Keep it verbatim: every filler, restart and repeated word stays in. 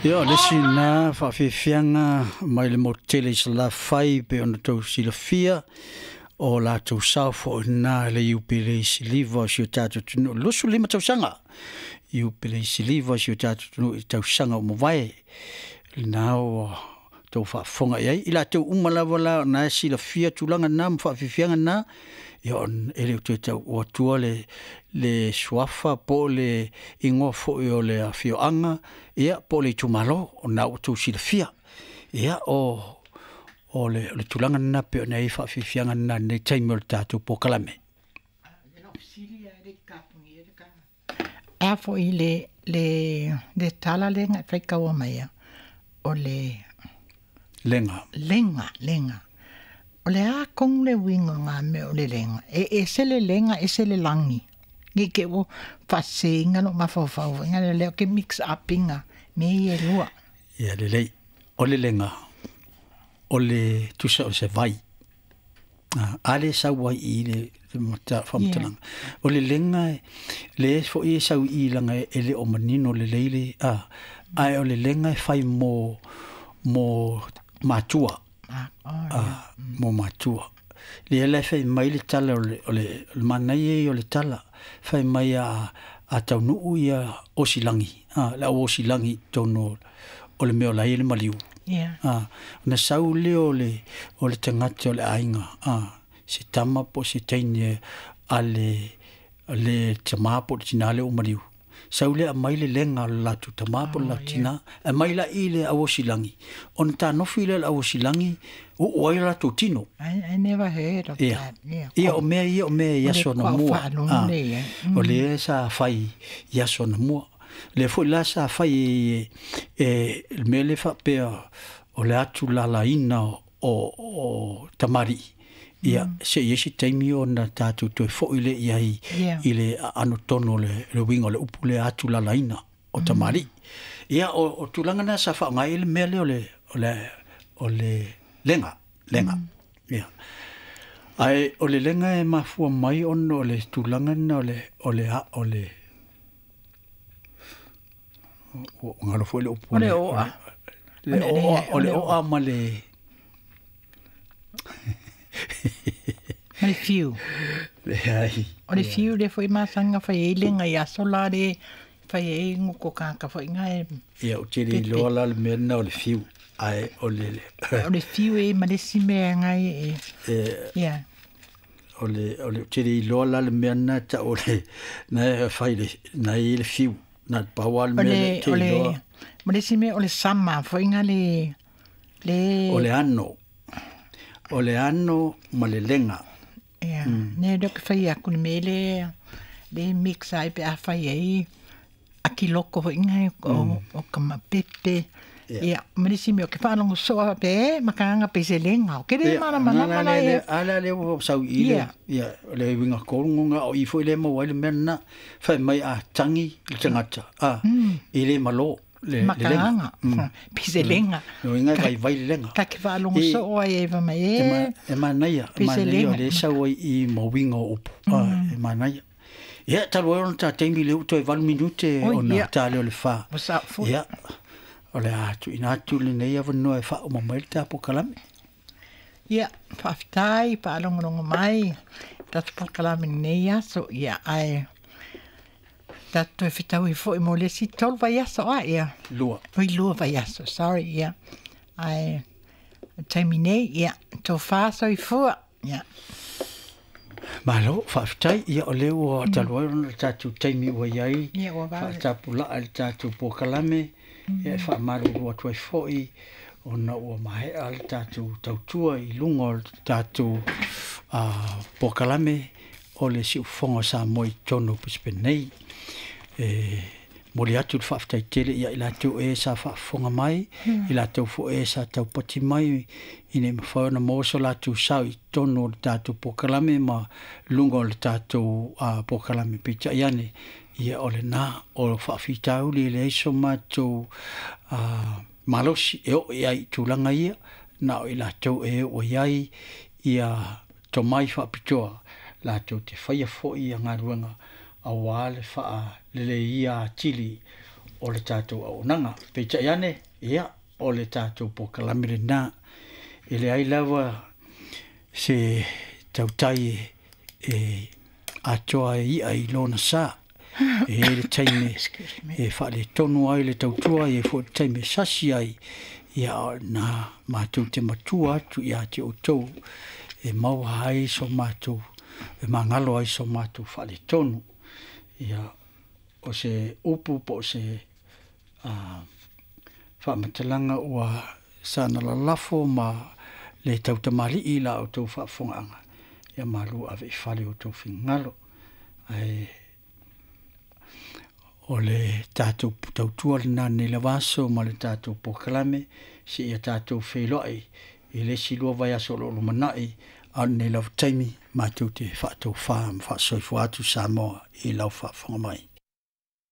Ia, o le isi lena faafiafiaga mai le motu tele i Salafai pei ona tou silafia, o latou sao foi lena i le Iupeli Siliva o si o tatou atunuu, luasefulu lima tausaga Iupeli Siliva o si o tatou atunuu i tausaga ua mavae. Lena ua tou faafofoga i ai, i latou uma lava la o na e silafia tulaga na ma faafiafiaga na, ia e le o toe tau atua le, le suafa po o le igoa foi o le afioaga, ia po o le itumalo, o lena ua outou silafia. Ia o, o le, o le tulaga lena pei ona i ai faafiafiaga na i lenei taimi o le tatou polokalame. A foi le le le tala lenga e faikaua mai ia, o le Lega. Lega, lega. O le a kong le uiga o ngā mea o le lega. E ese le lega, ese le lagi. Nge ke ua faasesēina lou mafaufau foi nga lea ke mix up inga mea ia e lua. Ia lelei. O le lega, o le tusa o se vai. A le sau ai i le faamatalaga. O le lega, le foi e sau i laga e le o manino lelei le, a, ae o le lega e fai mo, mo matua. A, mo matua. Lea la e fai mai le tala o le, o le, o le manaia ia o le tala, fai mai a, a taunuu ia osilagi, a, le au osilagi i totonu o le mea o la e i ai le maliu. Yeah. A, ona sau lea o le, o le tagata o le aiga, a, se tama po o se teine a le, le tamā po o le tinā lea ua maliu. Sau lea aumai le lega o le latou tamā po o le latou tinā, aumai la i le auosilagi, ona tanofi lea o le auosilagi, oo ai le latou tino. I, I never heard of Ia. that. Yeah. Ia, o mea ia o mea i O le aso anamua. kuafaalogo Ah, lea i ai. o lea sa fai i aso anamua. Lea foi la sa fai e, e, le mea lea faapea o le atu lalaina o, o tamalii. Ia, se i ai se taimi ona tatou toe foi lea i ai Yeah. i le aano tonu o le, le uiga o le upu lea atu lalaina o tamalii. Ia, o, o tulaga na sa faaaoga ai le mea lea o le, o le, o le lega, lega. Ia. Ae o le lega e mafua mai ona o le tulaga lena o le, o le, a, o le, o, o galo foi le upu O le le- oa. le O le- oa, o le o le oa ma le, Ma le fiu. leai. O le fiu lea foi masani ona fai ai lega i aso la le fai ai goko kāka foi nga e Ia, ou te le pepe. iloa la le mea lena o le fiu, ae o le, O le fiu e ma le isi mea ngai e. e, Yeah. o le, o le, ou te le iloa la le mea lena e tau o le, na e fai le, na e i le fiu, na le pau lava le O mea lea le, ou te o le, iloa. ma le isi mea o le sama foi nga le, le. O le ano. O le ano ma le lega. Yeah. Ne lea ke fai aku le mea le, le mix ai pe a fai ai akiloko foi nga o, o ka mapepe. Yeah. Ia, ma le isi mea o ke faalogo soo a pe e makaga pe se lega. O ke le Ia, malamalama na la le, le, e. a la le ua sau i le, Ia. ia, o le uiga koluga o i foi le maua ai le mea lena, fai mai a tangi le tagata, a, i le malo, le, le lega. Makaga. Pe se lega. Le uiga e vaivai le lega. Ka ke faalogo E- soo ai e mai E, ma, e. e manaia, e Pe se manaia o lega. le sau ai i ma uiga o upu. A, e manaia. Ia, talu ai ona tā taimi lea ua toe valu minute Oi, ona ia. tā lea o le whā. Ua sao foi. Ia, o le a tuuina atu lenei avanoa e faauma mai le tā polokalame. Ia, faafetai, faalogologo mai, tatou polokalame lenei aso, ia, ae tatou toe fetaui foi mo le isi tolu vaiaso a, ia. Lua. Oi, lua vaiaso, sorry, ia. Ae, taimi nei, ia, tofa soifua, ia. Malo, faafetai, ia o lea ua talu ai ona le tatou taimi ua i ai, Ia, ua vave. faatapulaa le tatou polokalame, ia e faamalulu atu ai foi, ona ua maea le tatou tautua i luga o le tatou uh, polokalame o le siufofoga o Samoa i totonu o Brisbane nei. E momoli atu le faafetai tele ia i latou e sa faafofoga mai, i latou foi e sa taupati mai, ina ia mafai ona maua so latou sao i totonu o le tatou polokalame ma luga o le tatou uh, polokalame. Peitai ane, ia o lena o faafitauli e leai so matou uh, malosi e oo i ai i tulaga ia, na o i latou e oo i ai ia tomai faapitoa latou te faia foi ia galuega auā le faaleleia atili o le tatou auaunaga. Peitai ane, ia, o le tatou polokalame lena. E leai lava se tautai e atoa e ia i lona sa. E i ai le taimi e faaletonu ai le tautua, e i ai foi le taimi e sasi ai, ia o na matou te matua atu ia te outou e maua ai so matou, e magalo ai so matou faaletonu. Ia, o se upu po o se uh, faamatalaga ua sana lalafo ma le tautamalii la outou faafofogaaga, ia malu ave i fale outou finagalo. Ae o le tatou tautua lena nei lava aso ma le tatou polokalame, seia tatou feiloai i le isi lua vaiaso o lo o lumanai, a o lenei lava taimi matou te faatofa ma faasoifua atu Samoa i lau faafofoga mai.